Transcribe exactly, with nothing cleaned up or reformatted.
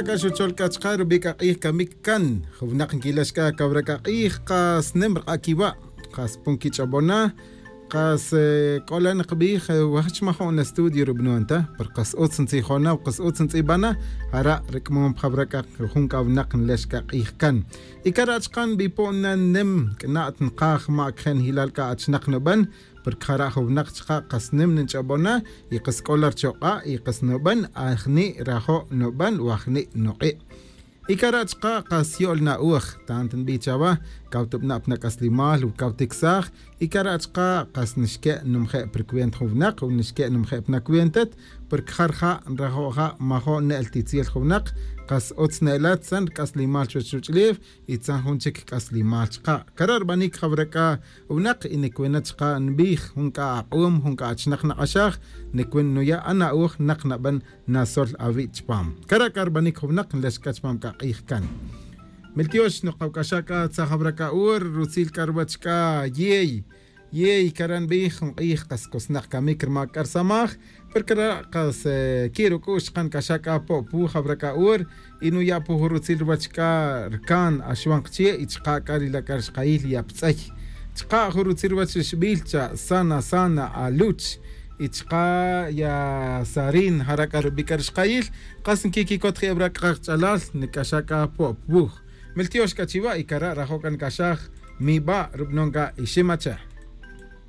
C'a xuchol c'a chka' rubi' c'a k'ij camic can jun winak nquilex c'a cawra c'a k'ij kas nim rk'a' quiwa'. Kas pon quich'obona. Kas c'o la nkbij wajach majo'n estudio rub'anon ta pero kas utz ntzijona o kas utz ntz'ibana. Jara' rik'mon pa jawra c'a jun c'a winak nlex c'a k'ij can. Y cara' chka' nbipo'n na nim c'na't nkaj ma' cje' njilal c'a achinak nuben. Porque jara' jun winak chka' kas nim nch'obona y kas c'o la rchok'a' y kas nuben ajni' rajo' nuben o ajni' nuk'i'. Y cara' chka' kas yo'l na'oj tant nbij chawa. Caw tubna' pa nac'aslimal o caw ticsaj. Y cara' chka' kas nxque' numaje' pa rucuenta jun winak o nxque' numaje' pa nacuenta. Porque ja rija' nrajo' ja' majo' ne'el titzel jun winak. Kas utz ne'ela tzan rc'aslimal chuwech ruch'ulef y tzan jun chic c'aslimal chka'. Cara' rbanic jawra c'a winak y nicuwina chka' nbij jun c'a ak'um jun c'a achinak nak'axaj. Nicuwin nuya' ana'oj nak naben nasol awi' chupam. Cara' c'a rbanic jun winak nlex c'a chupam c'a k'ij can. Miltiox nok kawc'axa' c'a tzaj jawra c'a hor rutzil c'a ruwech c'a yey. Yey cara' nbij jun k'ij kas cosnak camic rma c'a rsamaj. Pero cara' kas qui' ruc'u'x chka' nc'axa' c'a po' puj jawra c'a hor y nuya' puj rutzil ruwech c'a rcan axwan kche' y chka' c'a ri la' c'a rixkayil ya ptz'ey. Chka' jun rutzil ruwech rixbil cha sana sana aluch y chka' ya sarin jara' c'a rubi' c'a rixkayil. Kas nquiquicot je' wra c'a kach'alal nic'axa' c'a po' puj. Miltiox c'a chiwa' y cara' rajo' c'a nic'axaj. Miba' rub'anon c'a iximacha.